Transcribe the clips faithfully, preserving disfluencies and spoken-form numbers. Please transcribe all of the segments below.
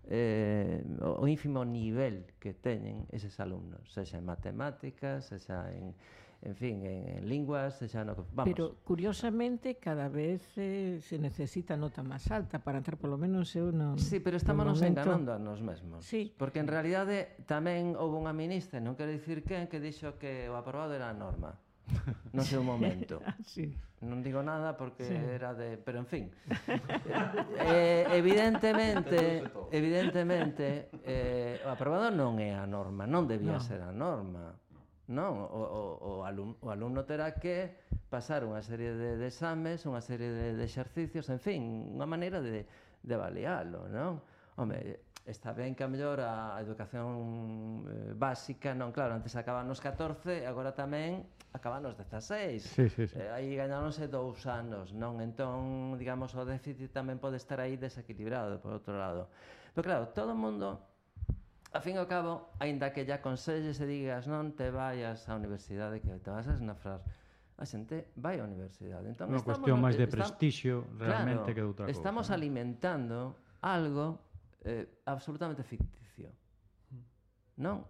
eh, o ínfimo nivel que teñen eses alumnos, sexa en matemáticas, sexa en, en fin, en, en linguas, sexa no que... Vamos. Pero, curiosamente, cada vez eh, se necesita nota máis alta para entrar, polo menos eu non... Sí, pero estamos nos momento... enganando a nos mesmos. Sí. Porque, en realidade, tamén houve unha ministra, non quero dicir quen, que dixo que o aprobado era a norma. No seu momento. Sí. Non digo nada porque sí. era de... Pero, en fin. eh, evidentemente, evidentemente, eh, o aprobado non é a norma, non debía no. ser a norma. Non, o, o, o, alumno, o alumno terá que pasar unha serie de, de exames, unha serie de, de exercicios, en fin, unha maneira de, de avalialo, non? Home, está ben que a mellor a educación eh, básica, non, claro, antes acaban nos catorce, agora tamén acaban nos dezaseis. Sí, sí, sí. Eh, aí gañáronse dous anos, non? Entón, digamos, o déficit tamén pode estar aí desequilibrado, por outro lado. Pero claro, todo o mundo, a fin e ao cabo, aínda que lle aconselles e digas non te vayas á universidade, que te vas a esnafrar, a xente vai á universidade. Entón, unha cuestión máis de prestixio realmente claro, que de outra cousa. Estamos ¿no? alimentando algo eh, absolutamente ficticio. Non?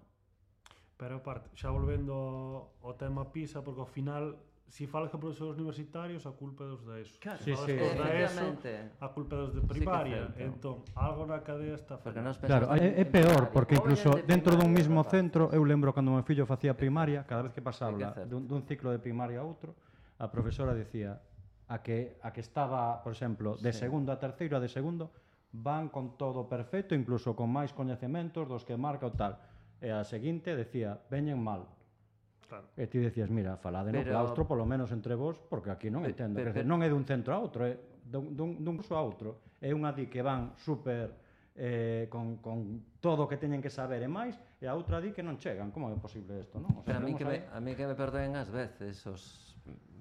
Pero aparte, xa volvendo ao tema PISA, porque ao final, se falas que profesores universitarios, a culpa é dos da ESO. Claro, se sí, sí. falas dos da ESO, Efectivamente. a culpa é dos de primaria. Sí, entón, algo na cadea está fallando. Claro, é, é peor, porque incluso dentro dun mismo centro, eu lembro cando meu fillo facía primaria, cada vez que pasaba dun, dun ciclo de primaria a outro, a profesora decía a que, a que estaba, por exemplo, de sí. segundo a terceiro a de segundo, van con todo perfecto, incluso con máis coñecementos dos que marca o tal. E a seguinte decía, veñen mal. Claro. E ti decías, mira, falade no claustro, polo menos entre vos, porque aquí non entendo. Pero, pero, non é dun centro a outro, é dun, dun, dun curso a outro. É unha di que van super eh, con, con todo o que teñen que saber e máis, e a outra di que non chegan. Como é posible isto, non? O sea, pero a mí, que me, a mí que me perdoen ás veces os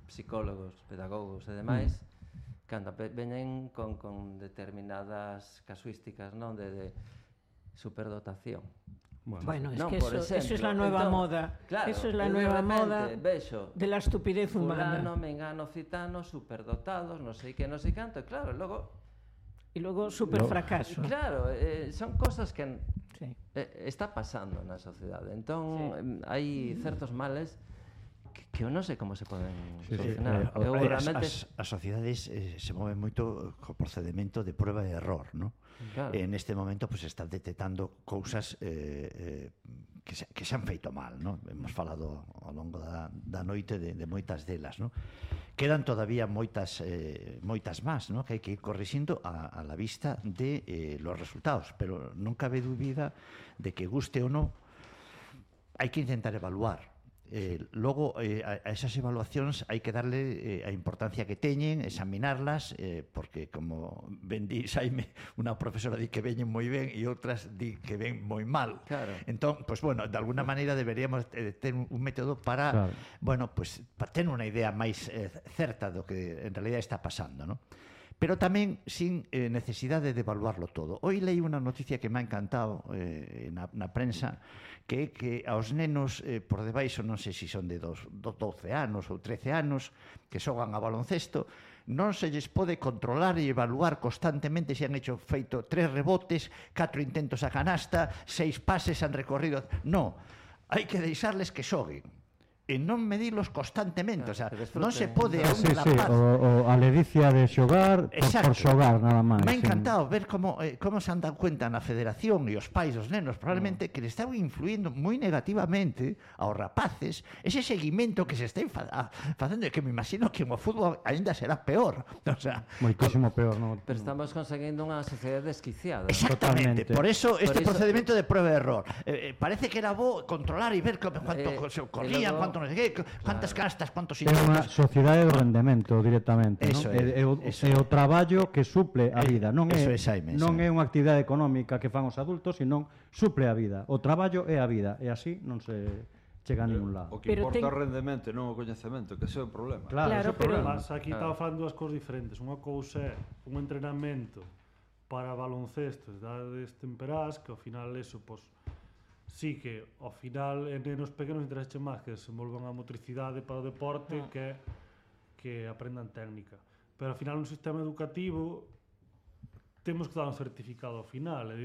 psicólogos, pedagogos e demais, mm. cando veñen con, con determinadas casuísticas, non? De, de superdotación. Bueno, bueno es no, que eso, ejemplo, eso es la nueva entón, moda. Claro, eso es la nueva moda vexo, de la estupidez humana. Fulano, mengano, citano, superdotados, non sei que, non sei canto, e claro, logo... E logo superfracaso. No. Claro, eh, son cosas que sí. eh, está pasando na sociedade. Entón, sí. hai certos males que, que eu non sei como se poden sí, solucionar. Sí. Eu, realmente... as, as, as sociedades eh, se moven moito co procedimento de prueba e error, non? Claro. En este momento pues están detectando cousas eh, eh, que, se, que se han feito mal, ¿no? Hemos falado ao longo da, da noite de, de moitas delas, ¿no? Quedan todavía moitas eh, moitas más, ¿no? Que hai que ir corrixindo a, a la vista de eh, los resultados, pero non cabe dúbida de que guste ou non hai que intentar evaluar. Eh, logo, eh, a, a esas evaluacións hai que darle eh, a importancia que teñen, examinarlas, eh, porque, como ben di Xaime, unha profesora di que veñen moi ben e outras di que ven moi mal. Claro. Entón, pues bueno, de alguna maneira deberíamos eh, ter un, un método para, claro. bueno, pues para ter unha idea máis eh, certa do que en realidad está pasando, ¿no? Pero tamén sin eh, necesidade de evaluarlo todo. Hoy leí unha noticia que me ha encantado eh, na, na prensa, que é que aos nenos eh, por debaixo, non sei se son de dos, doce anos ou trece anos, que xogan a baloncesto, non se lles pode controlar e evaluar constantemente se han hecho feito tres rebotes, catro intentos a canasta, seis pases han recorrido... Non, hai que deixarles que xoguen e non medilos constantemente, claro, o sea, non se pode a un sí, rapaz... Sí, o, o a ledicia de xogar por, por xogar, nada máis. Me ha encantado sin... ver como, eh, como se han dado cuenta na federación e os pais dos nenos, probablemente, no. que le estaban influindo moi negativamente aos rapaces ese seguimento que se está facendo, e que me imagino que o fútbol ainda será peor, o sea... Moitísimo peor, non? Pero estamos conseguindo unha sociedade desquiciada. Exactamente, totalmente. Por eso este por procedimento eso... de prueba e error. Eh, parece que era bo controlar e ver cuánto eh, se corrían, cuánto non sei que, cuántas claro. castas, cuántos intentos. É unha sociedade de rendemento directamente, eso non? É, é, o, eso é o traballo que suple a vida, non é, é, Xaime, non é unha actividade económica que fan os adultos, senón suple a vida. O traballo é a vida, e así non se chega a ningún lado. O que importa ten... o rendemento, non o coñecemento, que ese é o problema. Claro, claro, ese é o problema. Mas aquí claro. estaba falando dúas cousas diferentes. Unha cousa é un entrenamento para baloncesto, edades temperás, que ao final eso, pois, sí que ao final en nenos pequenos interesa máis que desenvolvan a motricidade para o deporte ah. que que aprendan técnica. Pero ao final un sistema educativo temos que dar un certificado ao final, é